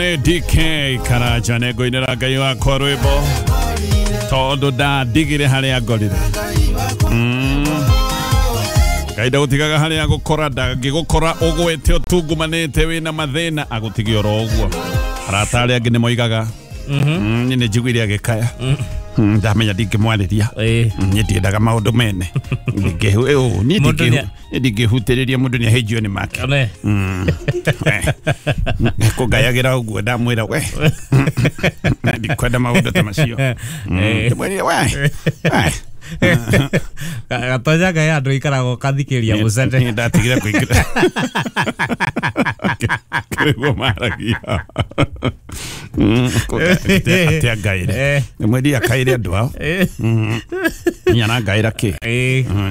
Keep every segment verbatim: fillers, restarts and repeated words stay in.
D K Karanja nĩngũinĩra Ngai wakwa rwĩmbo tondũ ndandigire harĩa ngorire. Ngai ndagũtigaga harĩa agũkora, ndangĩgũkora ũgwĩte ũtungumanĩte wĩna mathĩna, agũtige oro ũguo. Arata arĩa angĩ nĩmoigaga niĩ nĩ njiguire agĩkaya, ndamenya ndingĩmwarĩria, niĩ ndiendaga maũndũ mene, niĩ ndingĩhutĩrĩria mũndũ nĩ ahĩnjio nĩ make. Kũngayagĩra ũguo ndamwĩra we ndikwenda maũndũ ta macio, ndĩmwĩrire we gatonya ngai andå ikaragwo kathikĩria mũcene ndatigire kũingĩra kĩrĩguo maragia atĩa ngaire mweri akaire andũ ao niĩ arangaĩra kĩ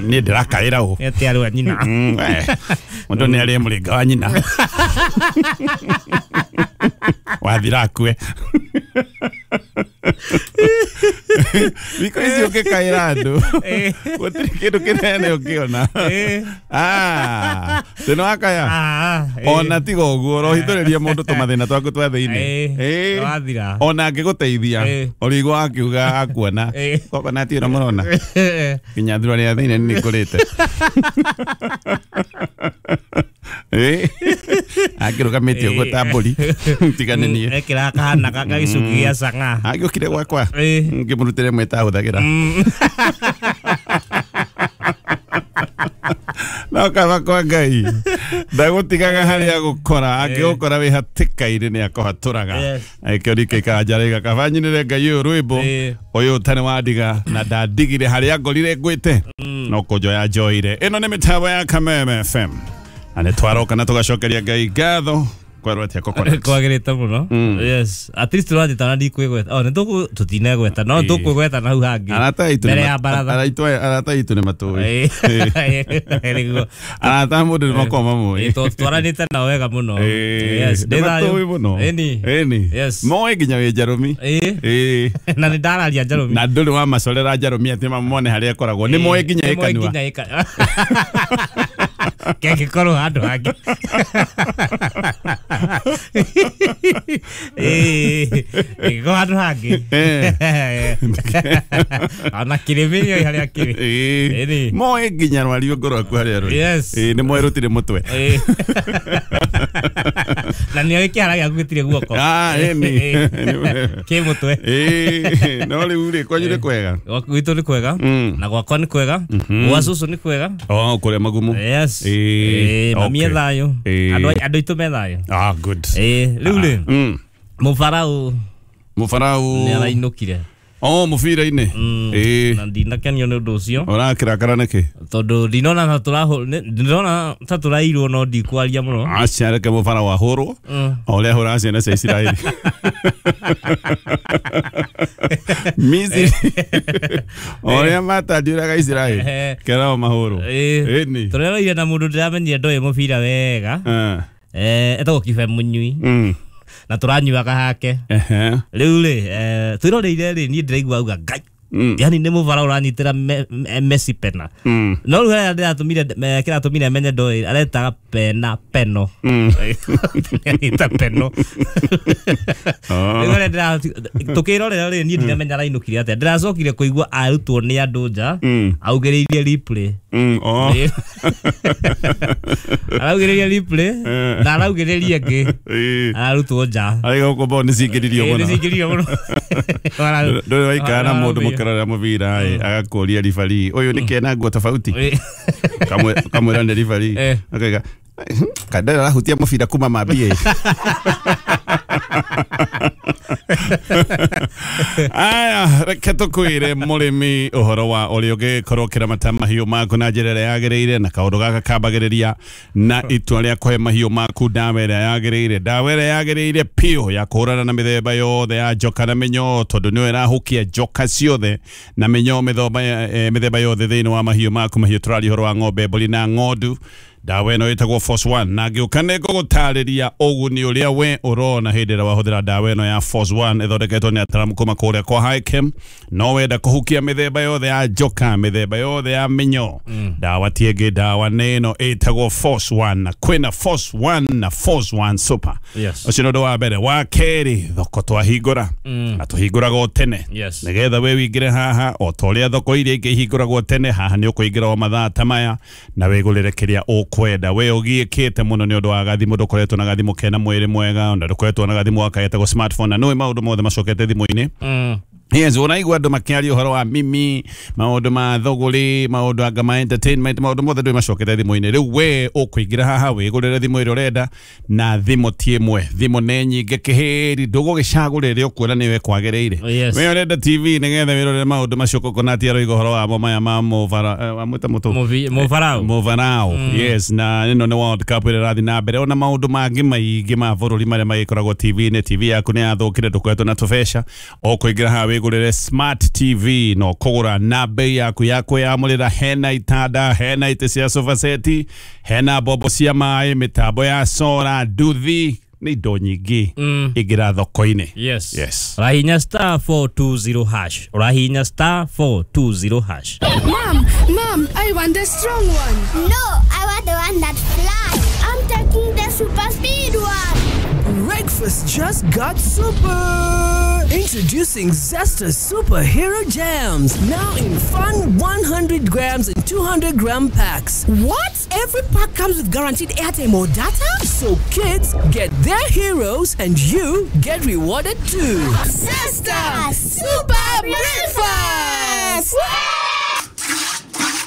niĩ ndĩrakaĩra ũ atĩ arĩ wa nyina mũndũ nĩ arĩe mũrĩnga wa nyina wathira akue. Thikũ ici ũngĩkaĩra andũ gũtirĩ kĩndũ kĩnene ũngĩona. Tĩ nĩ wakaya ona tiga ũguo ũrohithũrĩria mũndũ tũmathĩna twaku twa thĩinĩ, ona angĩgũteithia ũrĩigua akiuga akuona kokonati ĩno mũrona nginya thurari ya thĩinĩ nĩ ngũrĩte. Akĩrũgamĩte ũguo ta mbũri tigane niĩ ekĩra kahana gagĩcuki gĩa cang'a agĩũkire gwakwa ngĩmũrutĩre ĩmwe ĩtahũthagĩra. No kaba kwa Ngai ndagũtigaga harĩa agũkora, angĩgũkora wĩ hatĩka-inĩ nĩ akũhatũraga. Ĩkĩo D K Karanja arauga kaba nyinĩre Ngai ũyũ rwĩmbo ũyũ ũtarĩ wandiga na ndandigire harĩa ngorire ngwĩte no kũnjoya njoire. Ĩno nĩ mĩtambo ya Kameme F M na nĩ twaroka na tũgacokeria Ngai ngatho kwerwo atĩa kokonat kwagĩrĩte mũno. Yes, at least tũrathiĩ na ndikwĩgweta o nĩ tũkũ tũtinegweta no tũkwĩgweta na hau hangĩ arata aitũ mbere ya baratha arata aitũ nĩ matũĩ arata mũndũ nĩ makoragwo mamũĩ twaranĩte nao wega mũno. Yes, nĩ matũĩ mũno ĩni ĩni moĩ nginya wĩ njarũmi na nĩ ndararia njarũmi na ndũrĩ wamacorera njarũmi atĩ mamone harĩa ĩkoragwo nĩ moĩ nginya ĩkanua kengĩkorwo handũ hangĩ ĩngĩkorwo handũ hangĩ ona kĩrĩmĩ nĩoĩ harĩa kĩrĩ moĩ nginya rwariũngũ rwaku harĩa rũrĩ nĩ moĩ rũtirĩ mũtwe na nĩoĩ kĩara gĩaku gĩtirĩ guoko kĩ mũtwe. No rĩu rĩ kwanyu nĩ kwega? Gwitũ nĩ kwega na gwakwa nĩ kwega gwa cũcũ nĩ kwega kũrĩa magumu. Yes, mami e thayũ andũ aitũ me thayũ. Ah, good. Rĩu rĩ mũbarau mũbarau nĩ arainũkire oh mũbira-inĩ na ndinakenio nĩ ũndũ ũcio. Ũrakĩrakara nĩkĩ? Tondũ ndinona ta ndĩrona ta tũrairwo no ndikwaria mũno. Aca reke mũbarau ahũrwo o ũrĩa ahũraga ciana cia Isiraeli Misiri o ũrĩa matandiũraga Isiraeli kerao mahũrwo. Ĩni tũreroire na mũndũ ndĩramenyire ndoĩ mũbira wega etagwo Kibe Mũnyui na tũranyuaga hake rĩu rĩ twĩroreire rĩ niĩ ndĩraigua auga Ngai yani nĩ mũbara ũranyitĩra Messi pena no rĩu harĩa ndĩratũmire kĩratũmire menye ndoĩ aretaga pena peno anyita peno rĩu harĩa tũkĩrorera rĩ niĩ ndinamenya arainũkire atĩa ndĩracokire kũigua arutwo nĩ andũ nja augĩrĩirie replay araugĩrĩria replay na araugĩrĩria ĩngĩ ararutwo nja araiga gũkũ bao nĩ cingĩririo mũno nĩ cingĩririo mũno ndũrĩ waikara na mũndũ mũkĩrorera mũbira agakũria ribari ũyũ nĩ kena nguo tofauti kamwĩra nĩ ribari akaiga kandara arahutia mũbira kuma mambie. Aya reke tũkwĩre mũrĩmi ũhoro wa ũrĩa ũngĩkorwo ũkĩramata mahiũ maku na njĩra ĩrĩa yagĩrĩire na kaũndũ gaka kambagĩrĩria na itua rĩa kũhe mahiũ maku ndawa ĩrĩa yagĩrĩire ndawa ĩrĩa yagĩrĩire piũ ya kũhũrana na mĩthemba yothe ya njoka na mĩnyoo tondũ nĩyo ĩrahukia njoka ciothe na mĩnyoo mĩthemba yothe thĩinĩ wa mahiũ maku mahiũ tũraria ũhoro wa ng'ombe mbũri na ng'ondu Ndawa ĩno ĩtagwo Force One na ngĩũka nĩ ngũgũtarĩria ũguni ũrĩa we ũrona hĩndĩ ĩrĩa wahũthĩra ndawa ĩno ya Force One ĩthondeketwo nĩ ataramu kuma kũrĩa kwa Hikem. No wenda kũhukia mĩthemba yothe ya njoka, mĩthemba yothe ya mĩnyoo, ndawa ti ĩngĩ, ndawa nĩ ĩno ĩtagwo Force One na kwĩna Force One na Force One Super. Yes. Ũcio nĩ ũndũ wa mbere. Wa kerĩ, thoko twahingũra na tũhingũraga o tene Yes. nĩgetha we wĩingĩre haha o ta ũrĩa thoko iria ingĩ ihingũragwo tene. Haha nĩ ũkũingĩra o mathaa ta maya na wĩgũrĩre kĩrĩa ũkwenda. We ũgiĩkĩte mũno nĩ ũndũ wa gathimũ, ndũkoretwo na gathimũ kena mwĩrĩ mwega, na ndũkoretwo na gathimũ gaka getagwo smartphone, na nĩũĩ maũndũ mothe macokete thimũ-inĩ. Mm. Yes, unaigua andũ makĩaria ũhoro wa mimi, maũndũ ma thũgũrĩ, maũndũ anga ma entertainment, maũndũ mothe ndũĩ macokete thimũ-inĩ. Rĩu we ũkũingĩra haha wĩgũrĩre thimũ ĩrĩa ũrenda, na thimũ ti ĩmwe, thimũ nĩ nyingĩ kĩhĩri, ndũgũgĩcagũra ĩrĩa ũkuona nĩyo ĩkwagĩrĩire. Yes. We ũrenda T V nĩgetha wĩrorere maũndũ macio Coconut aroiga ũhoro wamo maya ma mũbara, eh, wamwĩta mũtũ? Mũvi- Mũbarao. Mũbarao. Yes, na ĩno nĩ World Cup ĩrĩa ĩrathiĩ na mbere, ona maũndũ mangĩ maingĩ ma bũrũri marĩa magĩkoragwo T V-inĩ. T V yaku nĩ yathũkire, ndũkoretwo na tũbeca, ũkũingĩra haha wĩgũrĩre smart T V no kũgũra na bei yaku ya kwĩyamũrĩra. Hena itanda, hena itĩ cia sofa set, hena mbombo cia maĩ, mĩtambo ya sora, nduthi, nĩ indo nyingĩ ingĩra thoko-inĩ. Yes. Yes. Ũrahihinya star four two zero hash. Ũrahihinya star four two zero hash. Mom, Mom, I want the strong one. No, I want the one that flies. I'm taking the super speed one. Breakfast just got super. Introducing Zesta Superhero Jams, now in fun one hundred grams and two hundred gram packs. What? Every pack comes with guaranteed airtime or data? So kids get their heroes and you get rewarded too. Zesta Super Breakfast!